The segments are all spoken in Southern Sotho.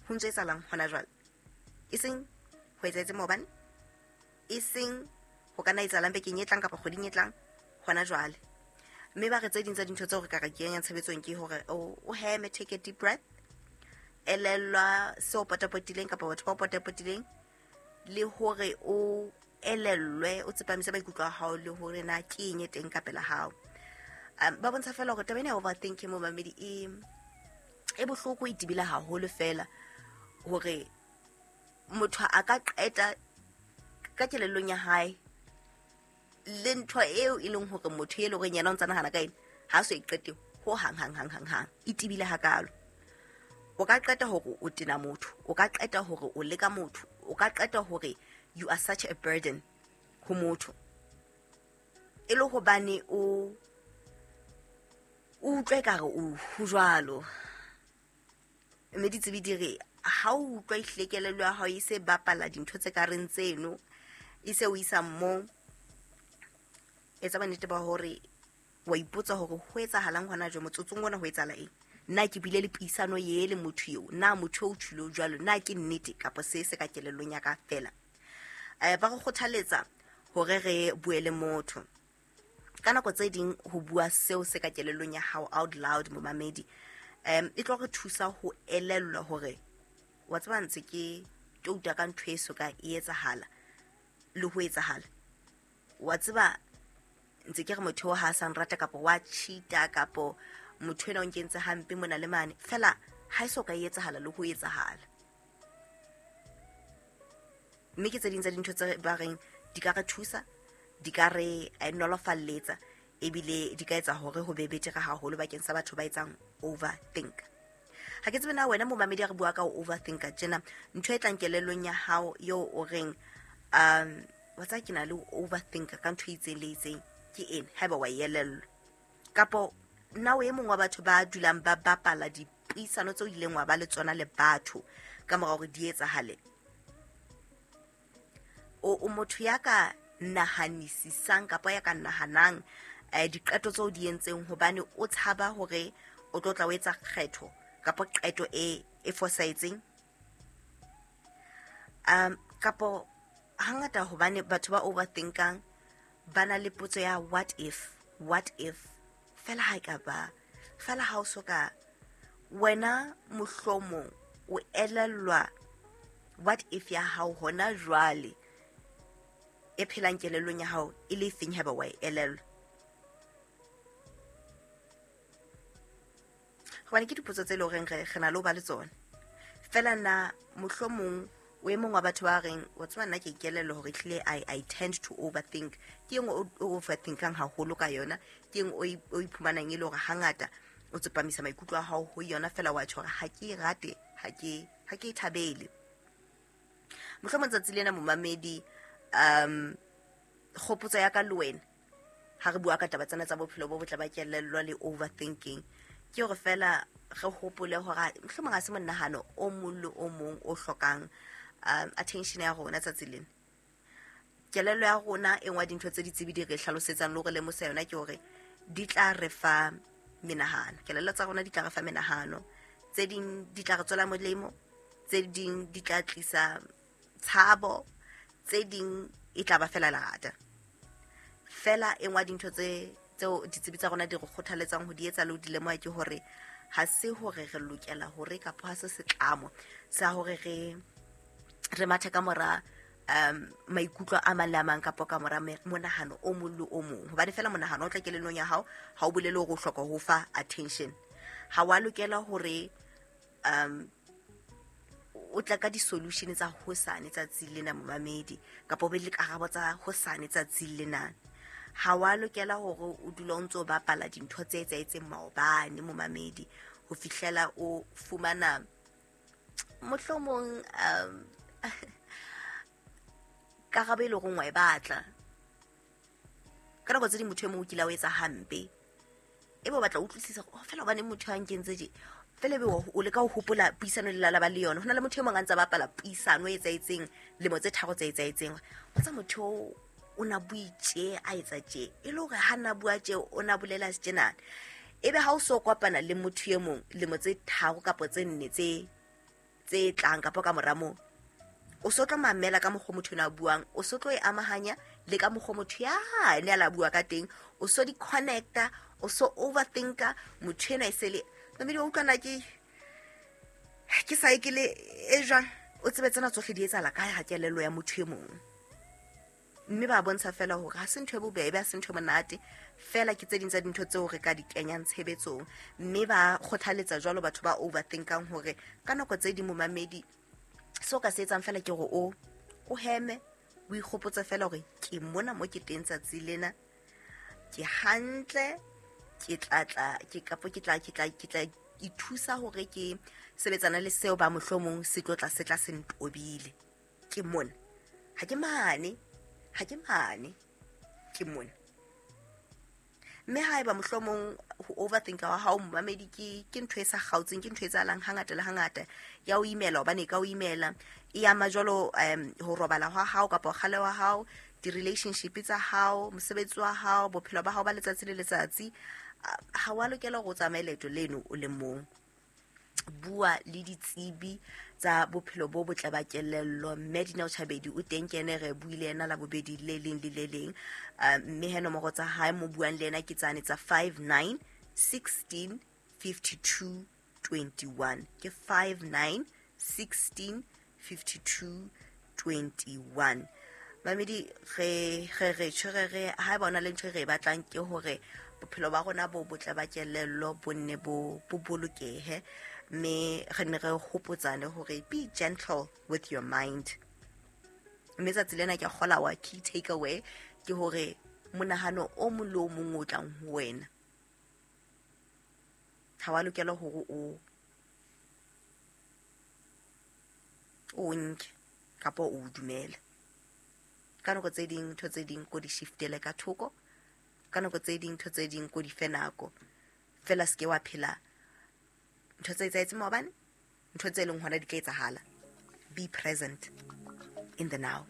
Ho ntso etsahalang hona jwale, e seng ho etsahetse maobane, e seng ho ka nna etsahalang bekeng e tlang kapa kgweding e tlang, hona jwale. Mme ba re tse ding tsa dintho tseo re ka re kenyang tshebetsong ke hore o heme, take a deep breath, elellwa seo potapotileng kapa batho ba o potapotileng, le hore o elellwe, o tsepamise maikutlo a hao le hore na ke eng e teng ka pela hao. Ba bontsha fela hore taba ena ya overthinking, momamedi, e bohloko, e tebile haholo fela hore motho a ka qeta ka kelellong ya hae le ntho eo e leng hore motho e leng hore yena o ntsa nahana ka ena ha so e qete ho hang hang hang hang hang, e tebile hakalo. O ka qeta hore o tena motho, o ka qeta hore o leka motho, o ka qeta hore you are such a burden ho motho, e le hobane o utlwe ekare o ho jwalo. Mme ditsebi di re ha o utlwa ehlile kelello ya hao e se bapala dintho tse ka reng tseno, e se o isa moo, etsa bonnete ba hore wa ipotsa hore ho etsahalang hona jwale, motsotsong ona ho etsahala eng. Nna ke bile le puisano ye le motho eo, na motho eo o tjhilo jwalo, na ke nnete kapa se se ka kelellong ya ka fela. Ba re kgothaletsa hore re bue le motho. Ka nako tse ding ho bua seo se ka kelellong ya hao out loud, momamedi, e tlo re thusa ho elellwa hore wa tseba ntse ke touta ka ntho e so ka e etsahala le ho etsahala. Wa tseba ntse ke re motho ha a sa nrata kapa wa cheat-a kapa motho ena o nkentse hampe mona le mane, fela ha e so ka e etsahala le ho etsahala. Mme ke tse ding tsa dintho tse ba reng di ka re thusa, di ka re nolofalletsa, ebile di ka etsa hore ho be betere haholo bakeng sa batho ba etsang overthink. Ha ke tsebe na wena momamedi a re bua ka ho overthinka tjena, ntho e tlang kelellong ya hao eo o reng, wa tseba ke na le ho overthinka ka ntho e itseng le itseng, ke eng haeba wa e elellwa? Kapo nna o e mong wa batho ba dulang ba bapala dipuisano tseo ileng wa ba le tsona le batho ka mora hore di etsahale? O motho ya ka nahanisisang kapa ya ka nahanang diqeto tseo di entseng hobane o tshaba hore o tlo tla o etsa kgetho kapa qeto e fosahetseng? Kapo hangata hobane batho ba overthinkang ba na le potso ya what if, what if, fela ha e ka ba, fela ha o so ka wena mohlomong o elellwa what if ya hao hona jwale e phelang kelellong ya hao e le efeng haeba wa e elellwa? Hobane ke dipotso tse leng horeng re na le ho ba le tsona. Fela na mohlomong o e mong wa batho ba reng, wa tseba nna ke ikelellwa hore ehlile I tend to overthink. Ke eng o overthinkang haholo ka yona? Ke eng o iphumanang e le hore hangata o tsepamisa maikutlo a hao ho yona fela wa tjho hore ha ke e rate, ha ke e thabele? Mohlomong tsatsi lena momamedi, kgopotso ya ka le wena ha re bua ka taba tsena tsa bophelo bo botle ba kelello le overthinking, ke hore fela re hopole hore mohlomong ha se monahano o mong le o mong o hlokang attention ya rona tsatsi lena. Kelello ya rona e nngwe ya dintho tse ditsebi di re hlalosetsang le hore lemosa yona ke hore di tla re fa menahano. Kelello tsa rona di tla re fa menahano, tse ding di tla re tswela molemo, tse ding di tla tlisa tshabo, tse ding e tla ba fela lerata. Fela e nngwe ya dintho tseo ditsebi tsa rona di re kgothaletsang ho di etsa le ho di lemoha ke hore ha se hore re lokela hore kapa ha se setlamo sa hore re mathe ka mora maikutlo a mang le a mang kapa ka mora monahano o mong le o mong. Hobane fela monahano o tla kelellong ya hao ha o bolele hore o hloka ho fa attention. Ha wa lokela hore o tla ka di-solution tsa hosane tsatsi lena momamedi, kapa o be le karabo tsa hosane tsatsi lena. Ha wa lokela hore o dule o ntso bapala dintho tse etsahetseng maobane momamedi, ho fihlela o fumana mohlomong karabo e leng hore wa e batla. Ka nako tse ding motho e mong o kile a o etsa hampe, ebe o batla ho utlwisisa hore, oh, fela hobane motho a nkentse tje, fela ebe o leka ho hopola puisano le lala ba le yona. Ho na le motho e mong a ntsa bapala puisano e etsahetseng lemo tse tharo tse etsahetseng. Wa tseba motho o na bue tje, a etsa tje, e le hore ha na bua tje, o na bolela tjenana. Ebe ha o so kopana le motho e mong lemo tse tharo kapa tse nne tse tse tlang kapa ka mora moo, o so tlo mamela ka mokgwa motho ena a buang, o so tlo e amahanya le ka mokgwa motho yane a la bua ka teng, o so di-connecta, o so overthinka motho ena e se le mamedi wa utlwana ke sa e ke le e jwang. O tsebe tsena tsohle di etsahala kae ha kelello ya motho e mong. Mme ba bontsha fela hore ha se ntho e bobebe, ha se ntho e monate fela, ke tse ding tsa dintho tseo re ka di kenyang tshebetsong. Mme ba kgothaletsa jwalo batho ba overthinkang hore ka nako tse ding momamedi seo ka se etsang fela ke hore o heme, o ikgopotse fela hore ke mona mo ke teng tsatsi lena, ke hantle, ke tla ke kapo ke tla ithusa hore ke sebetsana le seo ba mohlomong se tlo tla se tla se ntobile. Ke mona, ha ke mane, ke mona. Mme haeba mohlomong ho overthinka wa hao momamedi ke ntho e sa kgaotseng, ke ntho e etsahalang hangata le hangata, ya o imela hobane e ka o imela, e ama jwalo ho robala hwa hao kapa kgale wa hao, di-relationship tsa hao, mosebetsi wa hao, bophelo ba hao ba letsatsi le letsatsi. Ha wa lokela hore o tsamaye leeto leno o le mong. Bua le ditsebi tsa bophelo bo botle ba kelello. Mme Dineo Chabedi o teng, ke ene re buile yena la bobedi le leng le le leng. Mme he nomoro tsa hae mo buang le yena ke tsane tsa 59 16 52 21. Ke 59 16 52 21. Mamedi re re ha ba ona le ntho e re e batlang ke hore bophelo ba rona bo botle ba kelello bo nne bo bolokehe, mme re ne re hopotsane hore be gentle with your mind. Mme tsatsi lena ke kgola wa key takeaway ke hore monahano o mong le o mong o tlang ho wena ha wa lokela hore o nke kapa o dumele. Ka nako tse ding ntho tse ding ko di shiftele ka thoko, ka nako tse ding ntho tse ding ko di fe nako fela, se ke wa phela ntho tse etsahetseng maobane, ntho tse leng hona di tla etsahala. Be present in the now.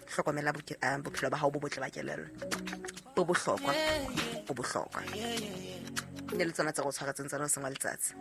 Hlokomela bophelo ba hao bo botle ba kelello, bo bohlokwa, bo bohlokwa. Ne le tsona tse go tshwaretseng tsona o seng wa letsatsi.